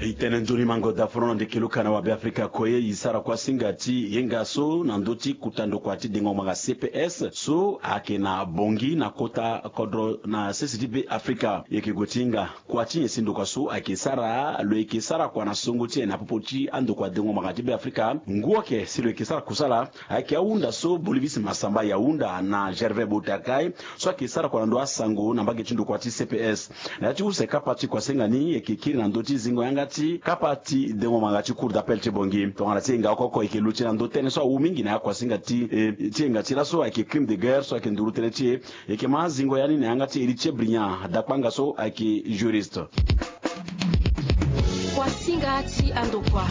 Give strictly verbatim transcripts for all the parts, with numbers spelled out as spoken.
E tene nzoni mango dafono na ndeke luka na wabe afrika kue e sara kuasinga ti yenga so na ndö ti kota ndokua ti dengo ngbanga cps so ayeke na bongi na kota kodro na sese ti be afrika. E yeke gue ti hinga kua ti nyen si ndokua so ayeke sara lo yeke sara kua na songo ti nyen na popo ti andokua dengo ngbanga ti be afrika ngu oke si lo yeke sara kusala. Ayeke ahunda so bolivis masamba ya hunda na gervais botakai so ayeke sara kua na ndö asango na mbage ti ndokua ti cps. Na ya ti use kapa ti kuasinga ni e yeke kiri na ndö ti zingo yanga ti kapa ti dengo ngbanga ti cour d'appel ti bongi tongana ti e nga oko oko e yeke luti na ndö tënë so awu mingi na ya kuasinga ti e ti e nga ti laso ayeke crime de guerre so ayeke nduru tënë ti e. E yeke ma zingo ya ni na yanga ti héritier brillant dakpanga so ayeke juriste. Kuasinga ti andokua.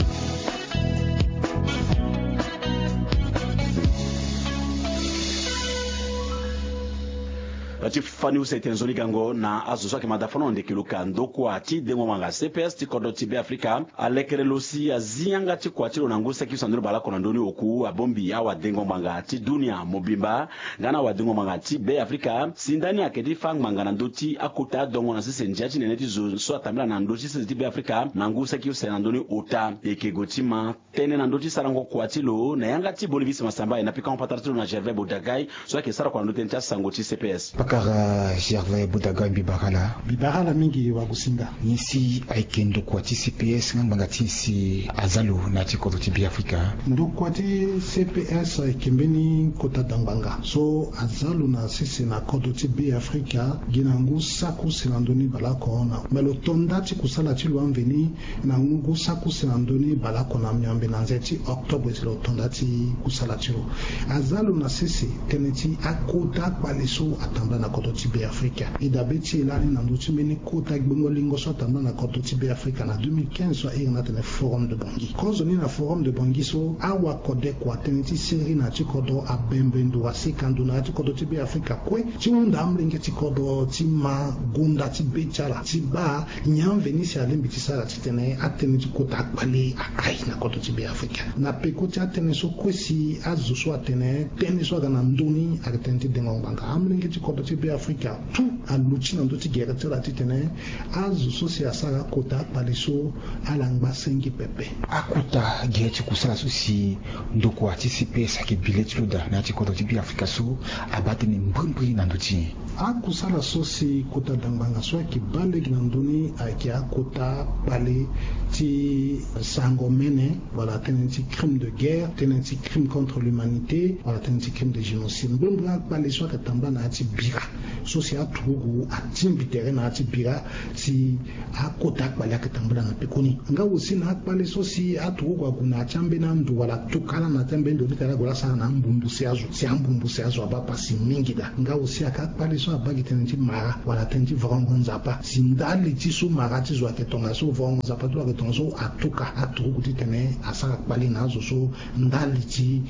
Ti fani use tene nzoni gango na azo so ayeke ma dafono na ndeke luka ndokua ti dengo ngbanga cps ti kodro ti be afrika alekere lo si azi yanga ti kua ti lo na ngu saki so na ndoni baleoko na ndoni oku abongbi awadengo ngbanga ti dunia mobimba nga na awadengo ngbanga ti be afrika si ndani ayeke ti fâ ngbanga na ndö ti akota adongo na sese ndia ti nene ti zo so atambela na ndö ti sese ti be afrika na ngu saki use na ndoni ota e yeke gue ti ma tënë na ndö ti sarango kua ti lo na yanga ti bolivis masamba e na pikango patara ti lo na gervais bodagai so ayeke sara kua na ndö tënë ti asango ti cps. Pakara gervais bodagai mbi bara ala. Mbi bara ala mingi wagosinga. Nyen si ayeke ndokua ti cps nga ngbanga ti nyen si aza lo na ya ti kodro ti be afrika? Ndokua ti cps ayeke mbeni kota dangbanga so aza lo na sese na kodro ti be afrika gi na ngu saki use na ndoni baleoko na me lo to nda ti kusala ti lo amveni na ngu saki use na ndö ni baleoko na miombe na nze ti octobre si lo to nda ti kusala ti lo. Aza lo na sese tënë ti akota akpale so atambula na kodro ti be afrika e dabe ti e lani na ndö ti mbeni kota gbongo lingo so atambula na kodro ti be afrika na deux mille quinze so ahiri ni atene forum de bongi kozoni na forum de bongi so awakode kua tënë ti siriri na ya ti kodro abembe ndo asika ndo na ya ti kodro ti be afrika kue ti hunda amolenge ti kodro ti ma gonda ti be ti ala ti baa nyen amveni si alingbi ti sara titene atënë ti kota akpale aai na kodro ti be afrika na peko ti atënë so kue si azo so atene tënë so aga na ndö ni ayeke tënë ti dengo ngbanga amolenge ti kodro ti be afrika tout aluti na ndö ti gere ti ala titene azo so si asara kota akpale so ala ngba senge pepe. Akota gere ti kusala so si ndokua ti cps ayeke bi le ti lo daa na ya ti kodro ti be afrika so abaa tënë mbrimbri na ndö ti nyen? Akusala so si kota dangbanga so ayeke baa lege na ndö ni ayeke akota kpale ti sango mene wala tënë ti crime de guerre tënë ti crime contre l'humanité wala tënë ti crime de génocide mbrimbri akpale so ayeke tambula na ya ti bira so si aturugu atingbi tere na ya ti bira si akota akpale ayeke tambula na pekoni nga aussi na akpale so si aturugu ague na ya ti ambeni ando wala tuka ala na ya ti ambeni ndo ti tene ala gue la sara na ambumbu si azo si ambumbu si azo abaa pasi mingi daa nga aussi ayeke akpale so abaa gi tënë ti mara wala tënë ti vorongo nzapa si ndali ti so mara ti zo ayeke tongaso vorongo nzapa ti lo ayeke tongaso atuka aturugu titene asara kpale na azo so ndali ti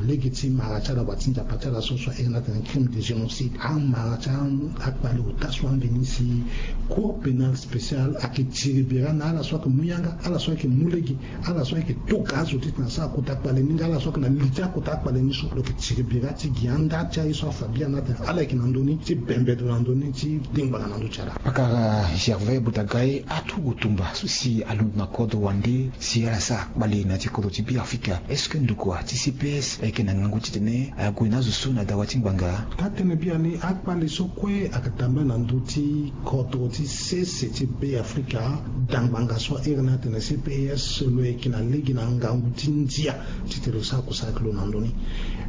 lege ti mara ti ala wa ti nzapa ti ala so so ahiri ni atene crime de génocide amara ti akpale ota so ambeni si cour pénale spéciale ayeke tiri bira na ala so ayeke mu yanga ala so ayeke mu lege ala so ayeke toka azo titene asara kota kpale ni nga ala so ayeke na li ti akota kpale ni so lo yeke tiri bira ti gi anda ti aye so afa bia ni atene ala yeke na ndö ni ti bembe ndo na ndö ni ti dengbanga na ndö ti ala. Pakara gervais botagai aturugu tumba so si alondo na kodro wande si ala sara kpale na ya ti kodro ti be afrika est-ce que ndokua ti cps ayeke na ngangu titene ague na azo so na dawa ti ngbanga? Taa tënë biani akpale so kue ayeke tambula na ndö ti kodro ti sese ti be afrika dangbanga so ahiri ni atene cps lo yeke na lege na ngangu ti ndia titene lo sara kusala ti lo na ndö ni.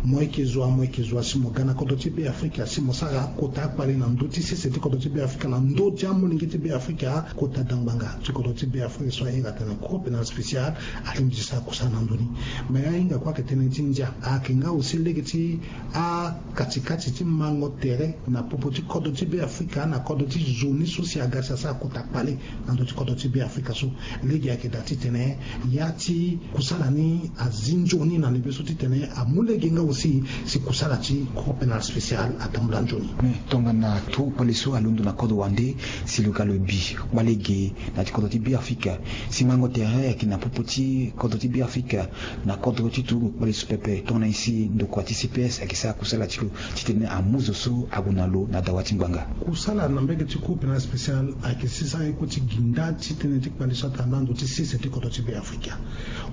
Mo yeke zo wa mo yeke zo wa si mo ga na kodro ti be afrika si mo sara akota akpale na ndö ti sese ti kodro ti be afrika na ndö ti amolenge ti be afrika kota dangbanga ti kodro ti be afrika so ahiri atene cour pénale spéciale alingbi ti sara kusala na ndö ni. Me ahinga kue ayeke tënë ti ndia ayeke nga aussi lege ti akatikati ti mango tere na popo ti kodro ti be afrika na kodro ti zo ni so si aga si asara kota kpale na ndö ti kodro ti be afrika so lege ayeke daa titene ya ti kusala ni azi nzoni na lebe so titene amu lege nga aussi si kusala ti cour pénale spéciale atambula nzoni. Mais tongana turu kpale so alondo na kodro wande si lo ga lo bi kpale ge na ya ti kodro ti be afrika si mango tere ayeke na popo ti kodro ti be afrika na kodro ti turu kpale so pepe tongana nyen si ndokua ti cps ayeke sara kusala ti lo titene amu zo so ague na lo na dawa ti ngbanga. Kusala na mbege ti Cour pénale spéciale ayeke sisa ye kue ti gi nda ti tënë ti kpale so atambula na ndo ti sese ti kodro ti Beafrika.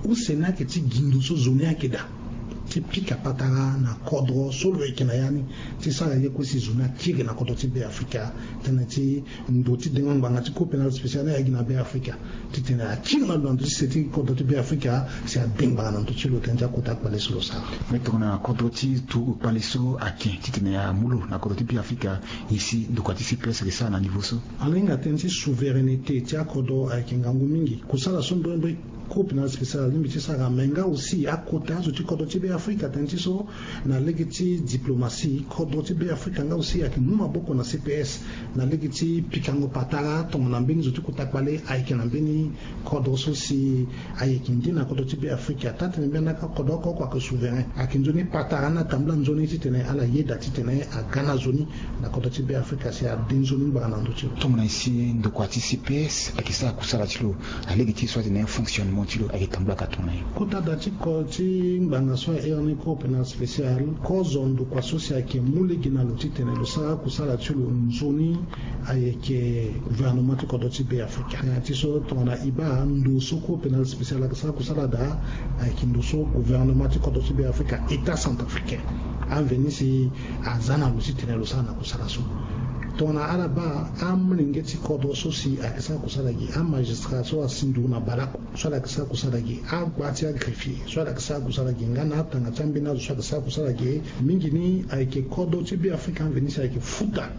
Use ni ayeke ti gi ndo so zo ni ayeke daa ti pika patara na kodro so lo yeke na ya ni, ti sara ye kue si zo ni akiri na kodro ti Beafrika. Tënë ti ndo ti dengo ngbanga ti Cour pénale spéciale ni aye gi na Beafrika titene akiri na lo na ndo ti se ti kodro ti Beafrika si ade ngbanga na ndo ti lo tënë ti akota kpale so lo sara. Mais tongana kodro ti tu kpale so ake titene amu lo na kodro ti Beafrika, nyen si ndokua ti C P S ayeke sara na niveau so? Ala hinga tënë ti souveraineté ti akodro ayeke ngangu mingi. Kusala so mbrimbri Cour pénale spéciale alingbi ti sara, mais nga aussi akota azo ti kodro ti Beafrika tënë ti so na lege ti diplomatie, kodro ti Beafrika nga aussi ayeke mu maboko na C P S na lege ti pikango patara tongana mbeni zo ti kota kpale ayeke na mbeni kodro so si ayeke nde na kodro ti Beafrika. Taa-tënë mbeni laka kodro oko oko ayeke souverain, ayeke nzoni patara ni atambula nzoni titene ala yeda titene aga na zo ni na kodro ti Beafrika si ade nzoni ngbanga na ndö ti lo. Tongana nyen si ndokua ti C P S ayeke sara kusala ti lo na lege ti so atene fonctionnement ti lo ayeke tambula ka tongana nyen? Kota da ti ko ti ngbanga so ahere ni Cour pénale spéciale, kozo ndokua so si ayeke mu lege na lo titene lo sara kusala ti lo nzoni ayeke gouvernement ti kodro ti Beafrika. Tënë ti so tongana e baa ndo so Cour pénale spéciale ayeke sara kusala daa ayeke ndo so gouvernement ti kodro ti Beafrika, État centrafricain, amveni si aza na lo titene lo sara na kusala so. Tongana ala baa amolenge ti kodro so si ayeke sara kusala gi, amagistrat so asi nduru na baleoko so ala yeke sara kusala gi, agba ti agreffier so ala yeke sara kusala gi nga na atanga ti ambeni azo so ayeke sara kusala gi, mingi ni ayeke kodro ti Beafrika amveni si ayeke futa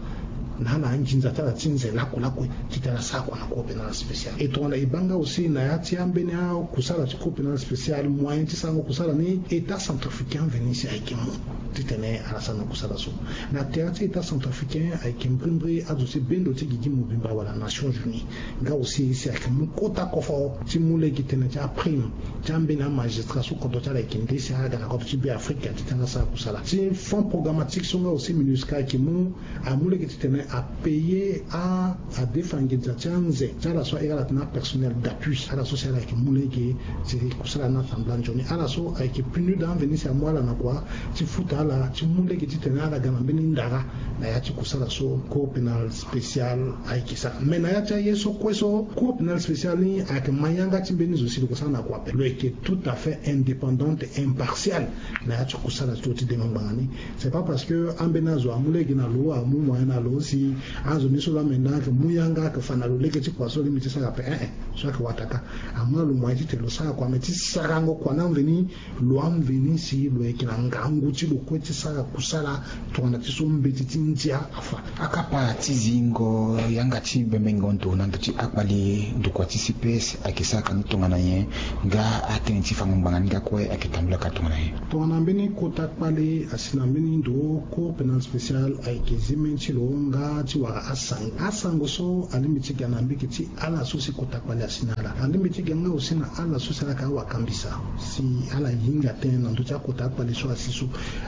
na ala anginza ti ala ti nze lakue lakue titene ala sara kua na Cour pénale spéciale. E tongana e baa nga aussi na ya ti ambeni akusala ti Cour pénale spéciale, moyen ti sarango kusala ni État centrafricain amveni si ayeke mu titene ala sara na kusala so. Na tere ti État centrafricain ayeke mbrimbri azo ti bendo ti gigi mobimba wala Nations Unies. Nga aussi si ayeke mu kota kofo ti mu lege tënë ti aprime ti ambeni amagistrat so kodro ti ala ayeke nde si aga na kodro ti Beafrika titene asara kusala. Ti fonds programmatique so nga aussi MINUSCA ayeke mu, amu lege titene apaye a, adefa nginza ti anze ti ala so ahiri ala titene apersonnel d'appui, ala so si ala yeke mu lege ti kusala ni atambula nzoni. Ala so ayeke PNUD amveni si amu ala na kua ti futa ala ti mu lege titene ala ga na mbeni ndara na ya ti kusala so Cour pénale spéciale ayeke sara. Mais na ya ti aye so kue so, Cour pénale spéciale ni ayeke ma yanga ti mbeni zo si lo yeke sara na kua ape. Lo yeke tout à fait indépendante et impartiale na ya ti kusala ti lo ti dengo ngbanga ni. C'est pas parce que ambeni azo amu lege na lo, amu moyen na lo si azo ni so laa menda ayeke mu yanga ayeke fa na lo lege ti kua so alingbi ti sara ape. Eh eh, so ayeke wataka. Amu na lo moyen titene lo sara kua, mais ti sarango kua ni amveni, lo amveni si lo yeke na ngangu ti lo kue ti sara kusala tongana ti so mbeti ti ndia afa. Akapa ti zingo yanga ti bembengo ndo na ndo ti akpale ndokua ti C P S ayeke sara ka ni tongana nyen? Nga atënë ti fango ngbanga ni nga kue ayeke tambula ka tongana nyen? Tongana mbeni kota kpale asi na mbeni ndo, Cour pénale spéciale ayeke zi mbeni ti lo nga ti wara asango. Asango so alingbi ti ga na mbege ti ala so si kota kpale asi na ala. Alingbi ti ga nga aussi na ala so si ala yeke awakambisa si ala hinga tënë na ndö ti akota akpale so asi so.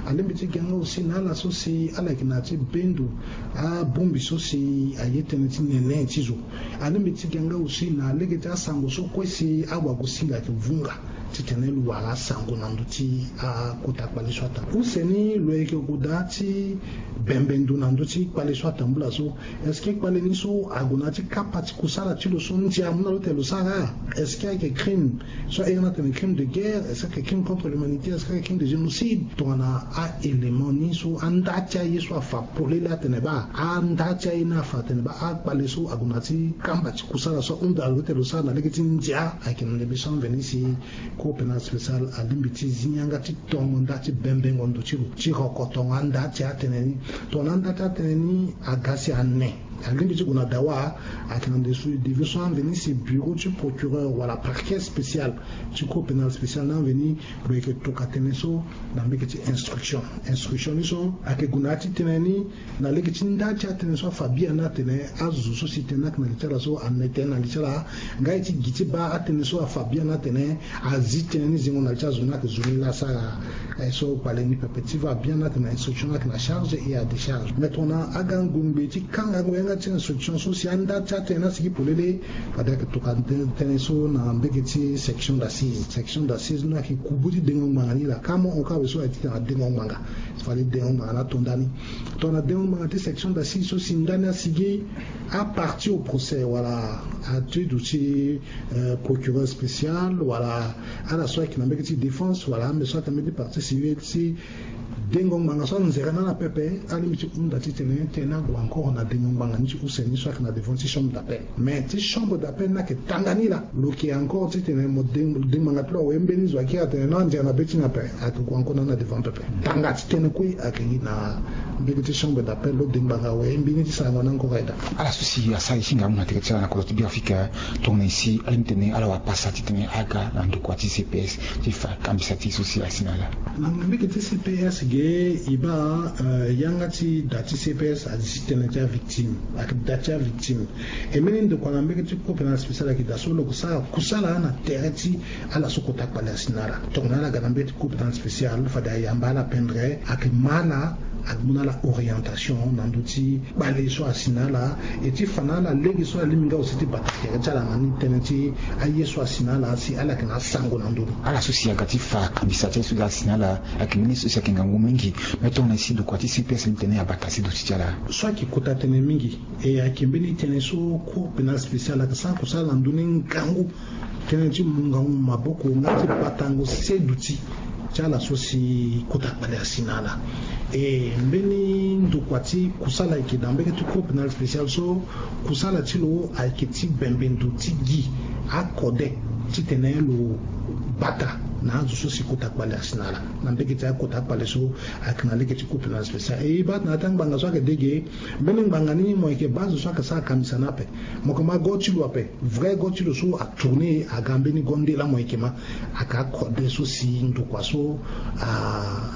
Alingbi ti ga nga aussi na ala so si ala yeke na ya ti bendo abongbi so si aye tënë ti nene ti zo. Alingbi ti ga nga aussi na lege ti asango so kue si awagosinga ayeke vunga titene lo wara asango na ndö ti akota kpale so atambula. Use ni lo yeke gue daa ti bembe ndo na ndö ti kpale so atambula so. Est-ce que kpale ni so ague na ya ti kapa ti kusala ti lo so ndia amu na lo titene lo sara? Est-ce que ayeke crime so ahere ni atene crime de guerre? Est-ce que ayeke crime contre l'humanité? Est-ce que ayeke crime de génocide? Tongana a-élément ni so, anda ti aye so afa polele atene baa, anda ti aye ni afa atene baa akpale so ague na ya ti kamba ti kusala so ahunda lo titene lo sara na lege ti ndia, ayeke na ndembe so amveni si Cour pénale spéciale alingbi ti zi yanga ti tongo nda ti bembengo ndo ti lo ti rokotongo anda ti atënë ni. Tongana anda ti atënë ni aga si ane, alingbi ti gue na dawa, ayeke na ndembe so, ndembe so amveni si bureau ti procureur wala parquet spécial ti Cour pénale spéciale ni amveni lo yeke toka tënë so na mbege ti instruction. Instruction ni so ayeke gue na ya ti tënë ni na lege ti nda ti atënë so afa biani atene azo so si tënë ni ayeke na li ti ala so ane tënë na li ti ala. Nga e ti gi ti baa atënë so afa biani atene azi tënë ni zingo na li ti azo ni ayeke zo ni laa asara. Eh, so kpale ni pepe ti va biani atene instruction ni ayeke na charge et à décharge. Mais tongana agango ngbe ti kangango Nga ti instruction so si anda ti atene asigi polele. Fade ayeke tokua tënë so na mbege ti section d'assise. Section d'assise ni ayeke kubu ti dengo ngbanga ni laa. Ka mo hon ka awe so aye ti tene adengo ngbanga. Fade dengo ngbanga ni ato ndani. Tongana dengo ngbanga ti section d'assise so si ndani asigi, apartie au procès wala atudu ti procureur spécial wala ala so ayeke na mbege ti défense wala ambe so ayeke na mbege ti partie civile ti dengo ngbanga so anzere na ala pepe, alingbi ti hunda titene tënë ni ague encore na dengo ngbanga ni ti use ni so ayeke na devant ti chambre d'appel. Mais ti chambre d'appel ni ayeke tanga ni laa. Lo yeke encore titene mo dengo ngbanga ti lo awe mbeni zo akiri atene non, anzere na be ti ni ape. Ayeke gue encore na ni na devant pepe. Tanga ti tënë kue ayeke gi na mbeni ti chambre d'appel lo dengo ngbanga awe mbeni ti sarango ni encore aye daa. Ala so si asara e si nga amu na tere ti ala na kodro ti Beafrika, tongana e si alingbi tene ala wara pasa titene aga na ndokua ti C P S ti fa kambisa ti e so si asi na ala. Na mbege ti C P S ge e baa yanga ti da ti C P S azi tënë ti avictime, ayeke da ti avictime. E mbeni ndokua na mbege ti cour pénale spéciale ayeke daa so lo yeke sara kusala na tere ti ala so kota kpale asi na ala. Tongana ala ga na mbege ti cour pénale spéciale fade ayamba ala pendere, ayeke ma ala, amu na ala orientation na ndö ti kpale so asi na ala, e ti fa na ala lege so ala lingbi nga aussi ti bata tere ti ala na ni tënë ti aye so asi na ala si ala yeke na asango na ndö ni. Ala so si aga ti fa kambisa ti aye so asi na ala ayeke mbeni so si ayeke ngangu mingi. Me tongana e si ndokua ti C P S alingbi tene abata si duti ti ala. So ayeke kota tënë mingi, e ayeke mbeni tënë so cour pénale spéciale ayeke sara kusala na ndö ni ngangu. Tënë ti mungango maboko nga ti batango seduti ti ala so si kota kpale asi na ala. E mbeni ndokua ti kusala ayeke na mbege ti cour pénale spéciale so kusala ti lo ayeke ti bembe ndo ti gi akode titene lo bata na azo so si kota kpale asi na ala. Na mbege ti akota kpale so ayeke na lege ti cour pénale spéciale. E e baa na ya ti angbanga so ayeke de ge, mbeni ngbanga ni mo yeke baa azo so ayeke sara kambisa ni ape. Mo yeke ma go ti lo ape. Vrai go ti lo so atourne aga mbeni go nde laa mo yeke ma. Aga akode so si ndokua so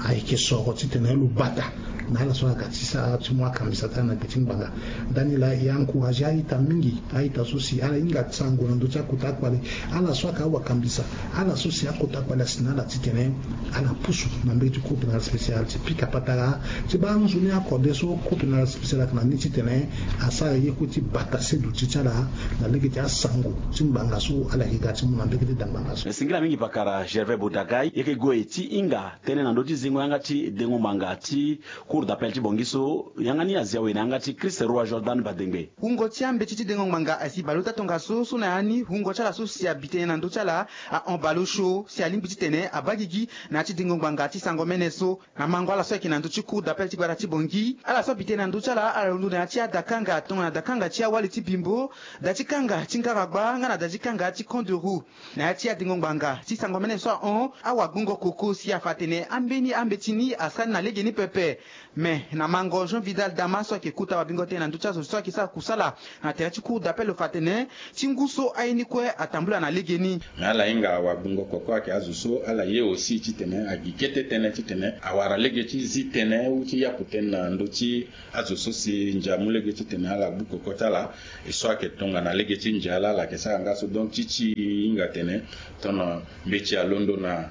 ayeke soro titene lo bata na ala so aga ti sara ti mu akambisa ti ala na gbe ti ngbanga. Ndani laa e encourage a-ita mingi, a-ita so si ala hinga sango na ndö ti akota akpale. Ala so ayeke awakambisa, ala so si akota kpale asi na ala titene ala pusu na mbege ti cour pénale spéciale ti pika patara ti baa nzoni akode so cour pénale spéciale ayeke na ni titene asara ye kue ti bata seduti ti ala na lege ti asango ti ngbanga so ala yeke ga ti mu na mbege ti da ngbanga so. Singila mingi pakara Gervais Bodagai, yeke gue ti hinga tënë na ndö ti zingo yanga ti dengo ngbanga ti cour d'appel ti Bangui so yanga ni azi awe na yanga ti Christ Roi Jordan Badengbe. Wungo ti ambeti ti dengo ngbanga asi baleota tongaso so na ya ni wungo ti ala so si abi tënë na ndö ti ala ahon baleosio si alingbi titene abaa gigi na ya ti dengo ngbanga ti sango mene so. Na mango ala so ayeke na ndö ti cour d'appel ti gbata ti Bangui, ala so abi tënë na ndö ti ala ala londo na ya ti adakanga tongana dakanga ti awali ti Bimbo, da ti kanga ti Ngaragba nga na da ti kanga ti Camp de Roux. Na ya ti adengo ngbanga ti sango mene so ahon, awagbongo koko si afa atene ambeni ambeti ni asara ni na legeni pepe. Me na mango Jean Vidal Dama so ayeke kota wagbingo tënë na ndö ti azo so ayeke sara kusala na tere ti cour d'appel lo fa atene ti ngu so aye ni kue atambula na legeni. Me ala hinga wagbingo koko ayeke azo so ala ye aussi titene agi kete tënë titene awara lege ti zi tënë ou ti yapu tënë na ndö ti azo so si ndia amu lege titene ala gbu koko ti ala. E so ayeke tongana lege ti ndia laa ala yeke sara nga so. Donc ti ti hinga tene tongana mbeti alondo na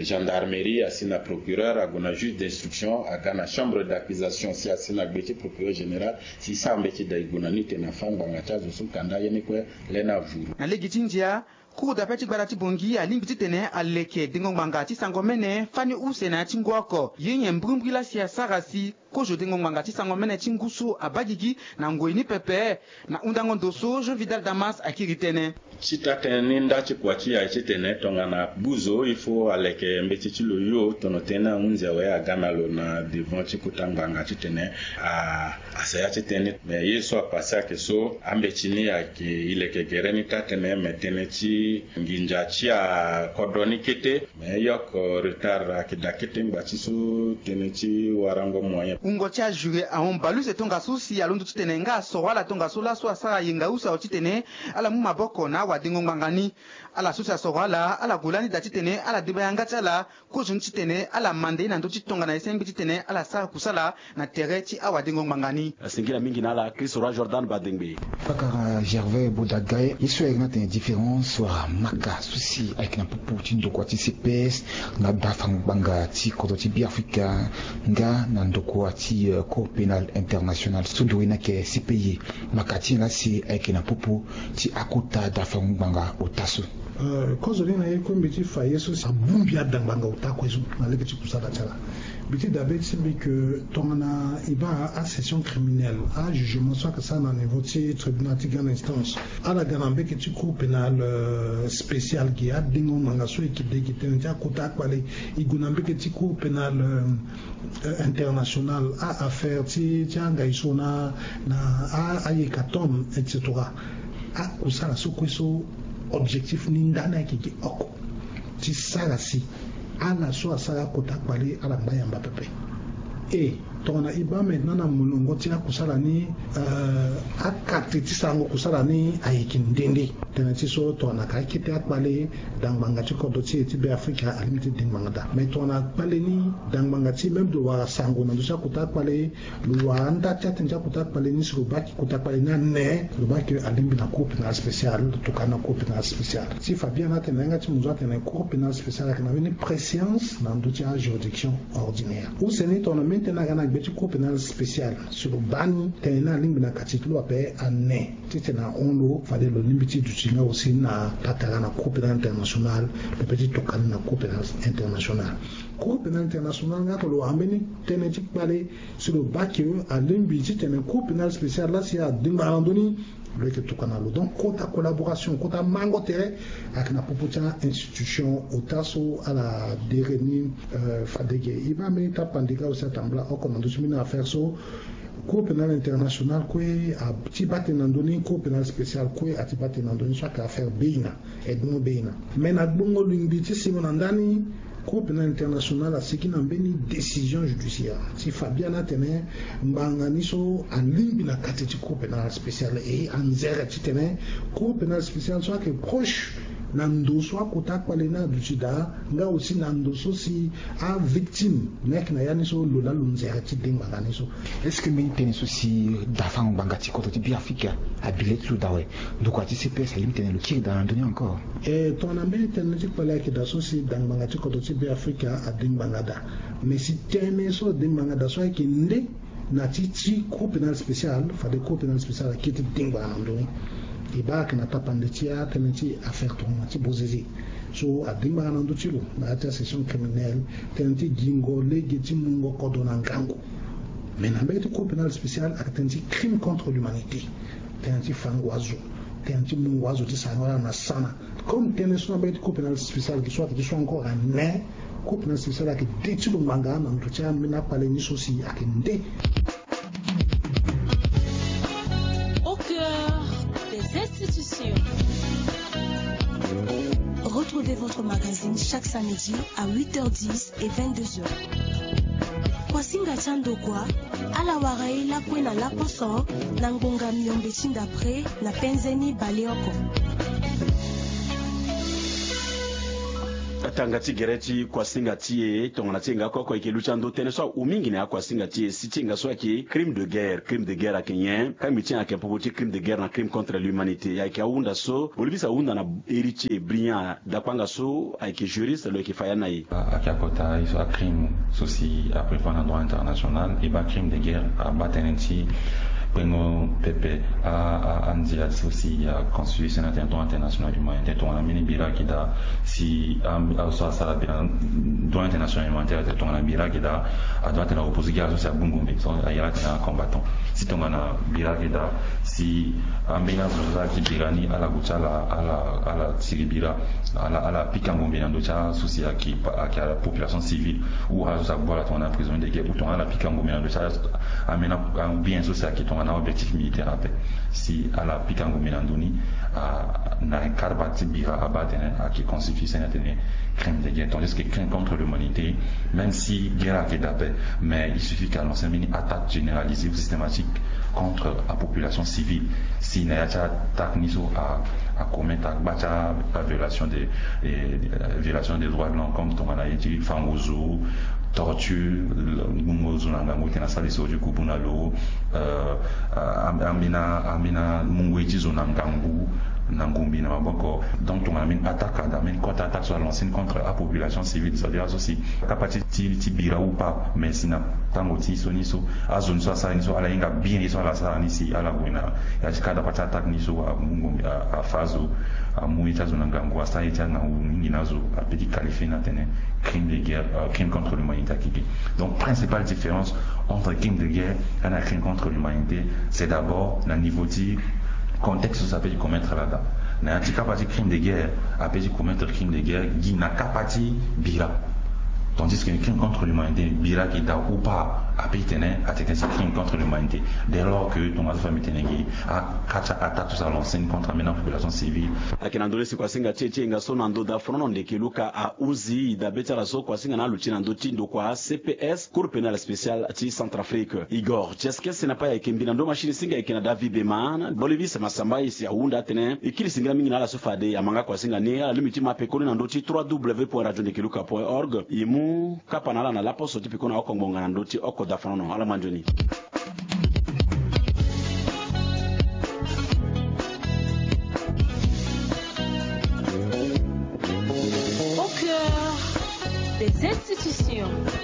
gendarmerie asi na procureur ague na juge d'instruction aga na chambre d'accusation si asi na gbe ti procureur général si sara mbeti da e gue na ni tene afa ngbanga ti azo so kanda ye ni kue lê ni avuru. Na lege ti ndia, cour d'appel ti gbata ti Bangui alingbi titene aleke dengo ngbanga ti sango mene fani use na ya ti ngu oko ye nyen mbrimbri laa si asara si kozo dengo ngbanga ti sango mene ti ngu so abaa gigi na ngoi ni pepe. Na hundango ndo so Jean Vidal Damas akiri tënë. Ti taa tënë ni nda ti kua ti e aye titene tongana gbu zo il faut aleke mbeti ti lo hio tono tënë ni ahunzi awe aga na lo na devant ti kota ngbanga titene a asaya ti tënë ni. Me ye so apase ayeke so ambeti ni ayeke e leke gere ni taa tënë me tënë ti nginza ti akodro ni kete. Me e yoko retard ayeke daa kete ngba ti so tënë ti warango moyen. Wungo ti ajuré ahon baleuse tongaso si alondo titene nga asoro ala tongaso laso asara yenga use awe titene ala mu maboko na awadengo ngbanga ni. Ala so si asoro ala ala gue lani daa titene ala deba yanga ti ala kozo ni titene ala manda ye na ndö ti tongana e sengbi titene ala sara kusala na tere ti awadengo ngbanga ni. Singila mingi na ala Christ Roi Jordan Badengbe. Pakara Gervais Bodagaye, ye so ayeke na tene différence wala maka so si ayeke na popo ti ndokua ti C P S nga dafango-ngbanga ti kodro ti Beafrika nga na ndokua ti Cour Pénale Internationale so nduru ni ayeke C P I. Maka ti nyen laa si ayeke na popo ti akota dafango-ngbanga ota so? Kozo ni na ye kue mbi ti fa ye so si abongbi adangbanga ota kue so na lege ti kusala ti ala. Mbi ti dabe ti mbi ke tongana e baa asession criminelle, ajugement so ayeke sara na niveau ti tribunal ti grande instance, ala ga na mbeke ti Cour Pénale spéciale ge, adengo ngbanga so e yeke de e yeke tene ti akota akpale, e gue na mbeke ti Cour Pénale internationale, a-affaire ti ti angai so na na a-hécatombe, et cetera. Akusala so kue so objectif ni ndani ayeke ge oko ti sara si ala so asara akota kpale ala ngba yamba pepe. E tongana e baa maintenant na molongo ti akusala ni, akate ti sarango kusala ni ayeke nde nde. Tënë ti so tongana ka akete akpale, dangbanga ti kodro ti e ti Beafrika alingbi ti dengbanga daa. Mais tongana kpale ni dangbanga ti e même lo wara sango na ndö ti akota akpale, lo wara nda ti atënë ti akota akpale ni si lo baa ke kota kpale ni ane, lo baa ke alingbi na Cour Pénale Spéciale, lo tokua na Cour Pénale Spéciale. Ti fa biani atene na yanga ti mo zo atene Cour Pénale Spéciale ayeke na mbeni préscience na ndö ti ajuridiction ordinaire. Use ni tongana mbeni tënë aga na gbe ti Cour Pénale Spéciale si lo baa ni tënë ni alingbi na kati ti lo ape ane. Titene ahon lo fade lo lingbi ti duti nga aussi na patara na Cour Pénale Internationale, pepe ti tokua ni na Cour Pénale Internationale. Cour Pénale Internationale nga ake lo wara mbeni tënë ti kpale si lo baa ke alingbi titene Cour Pénale Spéciale laa si adingba na ndö ni, lo yeke tokua na lo. Donc kota collaboration, kota mango tere ayeke na popo ti a-institution ota so ala dere ni. Fade ge e baa mbeni tapande nga aussi atambula oko na ndö ti mbeni affaire so. Cour Pénale Internationale kue ati baa tënë na ndö ni, Cour Pénale Spéciale kue ati baa tënë na ndö ni so ayeke affaire Beina, Edmond Beina. Mais na gbongo lingbi ti singo na ndani, Cour Pénale Internationale asigi na mbeni décision judiciaire ti fa biani atene ngbanga ni so alingbi na kati ti Cour Pénale Spéciale, e anzere titene Cour Pénale Spéciale so ayeke proche na ndo so akota akpale ni aduti daa, nga aussi na ndo so si avictime ni ayeke na ya ni so lo laa lo nzere ti dengbanga ni so. Est-ce que mbeni tënë so si dafango-ngbanga ti kodro ti Beafrika abi le ti lo daa awe? Ndokua ti C P S alingbi titene lo kiri daa na ndö ni encore? E tongana mbeni tënë ti kpale ayeke daa so si dangbanga ti kodro ti Beafrika adengbanga daa. Mais si tënë so adengbanga daa so ayeke nde na ti ti Cour Pénale Spéciale, fade Cour Pénale Spéciale akiri ti dengbanga na ndö ni. E baa ayeke na tapande ti atënë ti affaire tongana ti Bozizé so adengbanga na ndö ti lo na ya ti asession criminelle, tënë ti gingo lege ti mungo kodro na ngangu. Mais na mbeni ti Cour Pénale Spéciale ayeke tënë ti crime contre l'humanité, tënë ti fango azo, tënë ti mungo azo ti sarango ala na sana. Comme tënë so na mbeni ti Cour Pénale Spéciale gi so ayeke ti so encore ane, Cour Pénale Spéciale ayeke de ti lo ngbanga na ndo ti ambeni akpale ni so si ayeke nde. Au cœur des institutions. Retrouvez votre magazine chaque samedi à huit heures dix et vingt-deux heures. Kuasinga ti andokua, ala wara ye lakue na laposo na ngonga miombe ti ndapre na penze ni baleoko. Atanga ti gere ti kuasinga ti e, tongana ti e nga oko oko e yeke luti ando tënë so ahu mingi na ya kuasinga ti e si ti e nga so ayeke crime de guerre. Crime de guerre ayeke nyen? Kangbi ti e ayeke popo ti crime de guerre na crime contre l'humanité. Ayeke ahunda so Bolivie ahunda na Héritier Brillant Dakpanga so ayeke juriste, lo yeke fa ya na e. Ayeke akota ye so acrime so si aprévoir na droit international. E baa crime de guerre abaa tënë ti kpengo pepe andia so si aconstitue si na tënë droit international humanitaire tongana mbeni bira ayeke daa si azo so asara bira, droit international humanitaire atene tongana bira ayeke daa, adoit atene aopposé gi ala so si agbu ngombe so ayeke atene acombattant. Si tongana bira ayeke daa si ambeni azo so ayeke ti bira ni ala gue ti ala ala ala tiri bira, ala ala pika ngombe na ndö ti aso si ayeke population civile ou azo so agbu ala tongana prisonnier de guerre ou tongana ala pika ngombe na ndö ti ambeni abien so si ayeke tongana aobjectif militaire ape. Si ala pika ngombe na ndö ni, na cadre ti bira abaa atene ayeke constitue si atene crime de guerre, tandis que crime contre l'humanité, même si guerre ayeke daa ape, mais il suffit que alancer mbeni attaque généralisée ou systématique contre apopulation civile. Si na ya ti attaque ni so acommettre agba ti aviolation des violation des droits de l'homme comme tongana ye ti fango zo, torture, ngbongo zo na ngangu tena sali so ti kubu na lo, Ambeni ambeni mungo ye ti zo na ngangu na ngombi na maboko. Donc tongana ambeni attaque ada ambeni cote attaque so alancer ni contre apopulation civile, c'est à dire azo si kapa ti ti bira ou pas, mais si na tango ti so ni so azo ni so asara ni so ala hinga bien ye so ala sara ni si ala gue na ya ti kada pa ti attaque ni so amungo afa azo amu ye ti azo na ngangu asara ye ti angangu mingi na azo ape ti qualifier ni atene crime de guerre, crime contre l'humanité akeke. Donc principale différence entre crime de guerre et un crime contre l'humanité, c'est d'abord na niveau ti contexte so ape ti commettre lada. Na ya ti kapa ti crime de guerre ape ti commettre crime de guerre gi na kapa ti bira, tandis que crime contre l'humanité bira ki da ou pas ape ti tene atene ti crime contre l'humanité. Dès lors que tongaso fa mbi tene gi akati attaque so alancer ni contre ambeni apopulation civile. Ayeke na ndö ni si kuasinga ti e ti hinga so na ndö da fonono ndeke luka ahuzi dabe ti ala so kuasinga na aluti na ndö ti ndokua cps, cour pénale spéciale ti centrafrique. Igor tieskese na pa e ayeke mbi na ndö machine singa ayeke na david beman bolivis masamba e si ahunda atene e kiri singila mingi na ala so fade ama nga kuasinga ni ala lingbi ti ma pekoni na ndö ti trois w point radio ndeke luka point org. E mu kapa na ala na laposo ti pekoni na oko ngbonga na ndö ti oko da fonono ala mandioni.